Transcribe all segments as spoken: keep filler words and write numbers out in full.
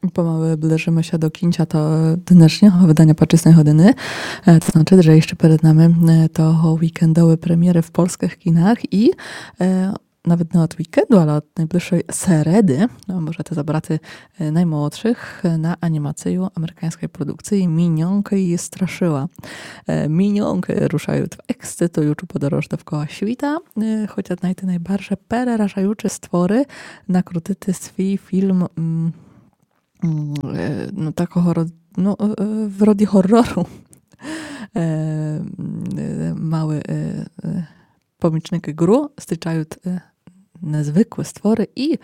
Помалы ближыме ся до кінця то днешнього выданя Пачысной годины. Е, то значыт, же іщы перед нами, е, того вікендовы премєры в польскых кінах і, е, навет не од вікенду, але од найближшой середы, но, можете забрати, е, наймолодшых, е, на анімацию американьской продукциі Міньонкы і страшыла. Е, Міньонкы рушают в ексцитуючу подорож довкола світа, е, хотят найти найбарже переражаючы створы, накрутити свій фільм, м, м, е, но, такого ро-, но, е, е, в роді горору. Е, м, е, малы, е, е, помічникы Гру зустрічают, е, незвыклы створы і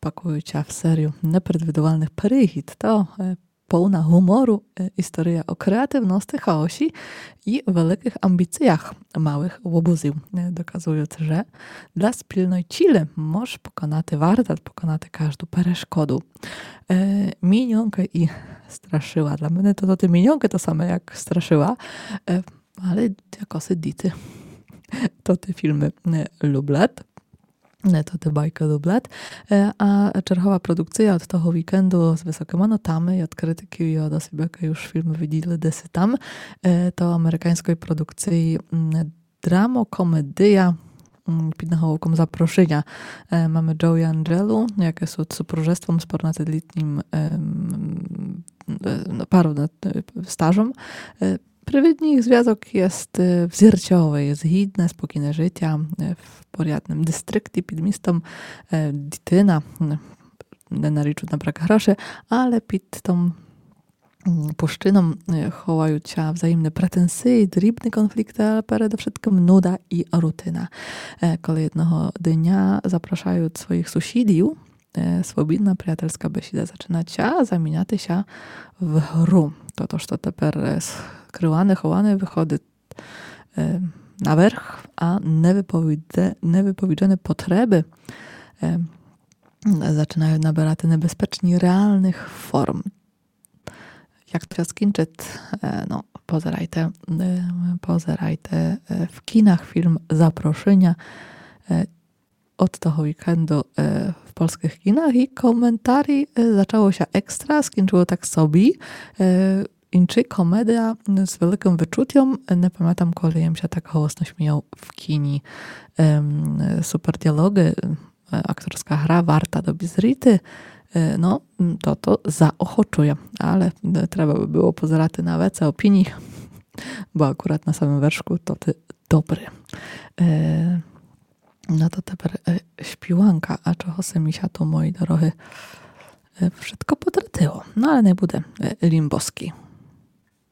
пакуют ся в серию непредвидувальных пригід. То, е, полна гумору, е, істория о креативности, хаосі і великых амбіциях малых лобузів. Е, доказуют, же для спільной цілі мож поконати, варто поконати кажду перешкоду. Е, Міньонкы і страшыла. Для мене то, то тоты Міньонкы то саме як страшыла, е, але якоси діти тоты фільмы, е, люблят. Е, тоты байкы люблят. Е, а чергова продукция од того вікенду з высокыма нотами і од критиків, і од осіб, якы уж фільмы виділи десь там, е, то американьской продукциі, м, драмокомедия, м, під наголовком Запрошыня. Е, маме Джоі Анджелу, якы сут супружеством з понадсетлітнім, ем, е, но, пару, е, стажом. Е, привидні їх звязок єст, е, взірцьовый, згідне, спокійне житя, е, в порядным дистрикті під містом, е, дітина, м, не нарікают на брак грошей, але під тым, м, пущыном, е, ховают ся взаємны претензиі, дрібны конфлікты, але передовшыткым нуда і рутина. Е, коли єдного дня запрошают своїх сусідів, е, свобідна приятельска бесіда зачынат ся заміняти ся в гру. То, то, што тепер, е, скрыване, ховане выходит, е, наверх, а невыповіде-, невыповіджены потребы, е, зачынают наберати небезпечні реалных форм. Як то ся скінчыт, е, но, позерайте, е, позерайте, е, в кінах фільм Запрошыня, е, од того вікенду, е, в польскых кінах і коментарі, е, зачало ся екстра, скінчыло так собі. Е, інчы комедия з великым вычутьом, е, не памятам, коли єм ся так голосно сміял в кіні. Ем, супер діалогы, е, акторска гра варта добрі зріти. Е, но, м, то, то заохочує, але, е, треба бы было позерати на веце опіній, бо акурат на самым вершку то тоты добры. Е, Но то тепер, е, співанка, а чого се мі ся то, мої дорогы, е, вшытко потратило. Но але не буде, е, Лімбоскій.